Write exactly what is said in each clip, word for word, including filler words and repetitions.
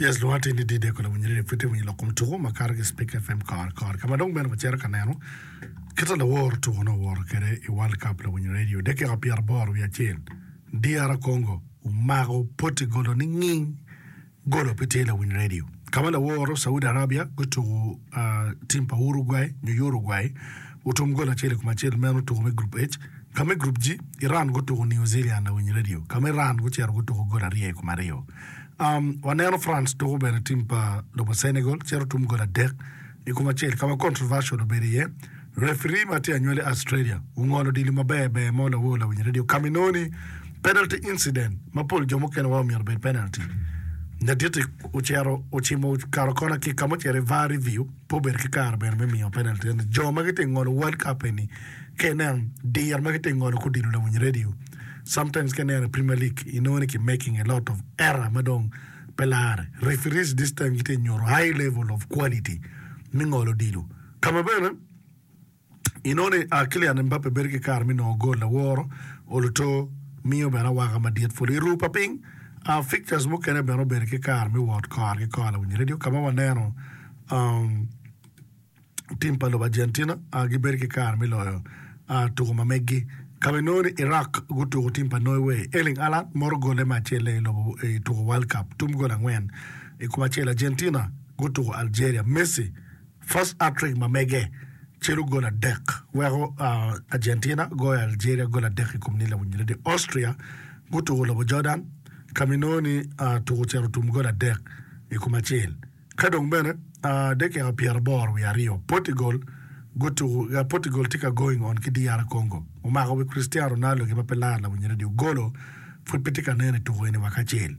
Yes, lwonga tye ni D-Day kola winyo radio pud tye winyo lok kom tuko ma kato ki Spik FM kore kore ka ma dong bene wacito ka neno kit ma lawor tuko nongo owoto kwede i World Cup lawinyo radio dakika pyeraboro wiye acel DR Congo omako poti golo ni nging golo pe tye lawiny radio ka ma laworo Saudi Arabia gutuko tim pa Uruguay nyo Uruguay otum gol acel i kom acel meno tuko me Group H ka me Group G Iran gutuko New Zealand lawiny radio ka ma Iran gucito gutuko gol aryo i kom aryo um, waneno France tuko bene tim pa lobo Senegal cito tum gol adek i kom acel ka ma controversial obedo iye referee ma tye anywali Australia ongolo odilo maber ber mo lawor lawiny radio ka ma inongo ni penalty incident ma pol jo mukene wa omyero obed penalty ladit-ti ocito ocimo okato kona ki ka ma ocito i VAR review pe obedo ki kare bene me miyo penalty eni jo ma gitye ngolo World Cup eni ka ineno diro ma gitye ngolo ki odilo lawiny radio sometimes ka ineno i Premier League inongo ni ki making a lot of error ma dong pe lare referees this time gitye nyuto high level of quality me ngolo odilo ka ma bene inongo ni uh, Kylian Mbappe bedo ki kare me nongo gol laworo oluto miyo bene awaka madit pud i ru pa piny uh, fixtures mukene bene obedo ki kare me wot kore ki kore lawiny radio ka ma waneno um, tim pa lobo Argentina uh, gibedo ki kare me loyo uh, tuko ma meggi ka ma inongo ni Iraq gutuko tim pa Norway Erling Haaland moro gole me acel i lobo i tuko World Cup tum gol angwen i kom acel Argentina gutuko Algeria Messi first hat-trick ma mege celo gol adek weko uh, Argentina goyo Algeria gol adek i kom ni lawiny radio Austria gutuko lobo Jordan ka ma inongo ni uh, tuko ocito tum gol adek i kom acel ka dong bene uh, dakika pyeraboro wiye aryo Portugal gutuko uh, Portugal tye ka going on ki DR Congo omako wi Cristiano Ronaldo gi ma pe lar lawiny radio golo pud pe tye ka neno i tuko eni waka acel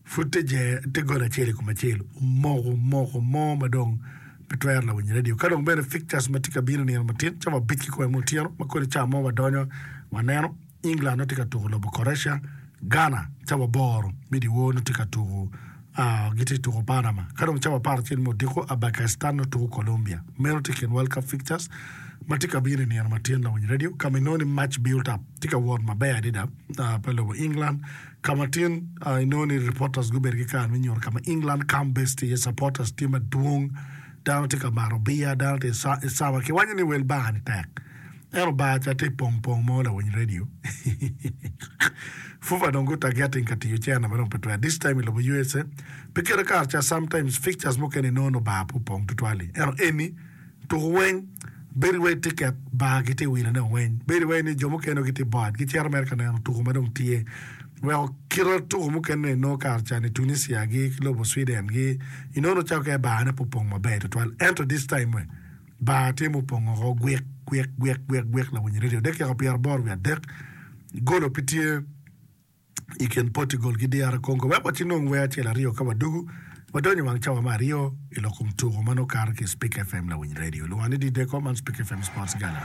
pud tye je tye gol acel i kom acel omoko moko mo ma dong pe twero lawiny radio ka dong bene fixtures ma tye ka bino nino matin cawa abic ki kome otyeno ma kodi cawa mo wadonyo waneno England nongo tye ka tuko lobo Croatia Ghana cawa aboro me dyewor nongo tye ka tuko uh, gitye tuko Panama ka dong cawa apar acel me odiko Uzbekistan nongo tuko Colombia meno tye kin World Cup fixtures ma tye ka bino i nino matin lawiny radio ka ma inongo ni match build up tye ka wot maber adada uh, pa lobo England ka ma tin uh, inongo ni reporters gubedo ki kare me nyuto ka ma England camp base tye iye supporters tye madwong dano tye ka mato bia dano tye i sama kiwaco ni wel bar ni tek ento bar ca tye pong pong mo lawiny radio FUFA dong gu targeting ka tiyo cene ma dong pe twero this time i lobo USA pi kite kare ca sometimes fixtures mukene inongo no bar pe opong tutwal-li ento eni tuko weng bedo wai ticket bar gitye wilone weng bedo wai ni jo mukene gitye bored gicito mere ka neno tuko ma dong tye weko kite tuko mukene inongo kare ca ni Tunisia gi ki lobo Sweden gi inongo cako ke bar ne pe opong maber tutwal ento this time we bar tye mupong oko gwik gwik gwik gwik gwik lawiny radio dakika pyeraboro wiye adek golo pe tye i kin Portugal ki DR Congo wek waci nong wer acel aryo ka wadugu wadonyo i wang cawa me aryo i lok kom tuko ma nongo kato ki Spik FM lawiny radio lwonga ni D-Deco man Spik FM Sports Gala.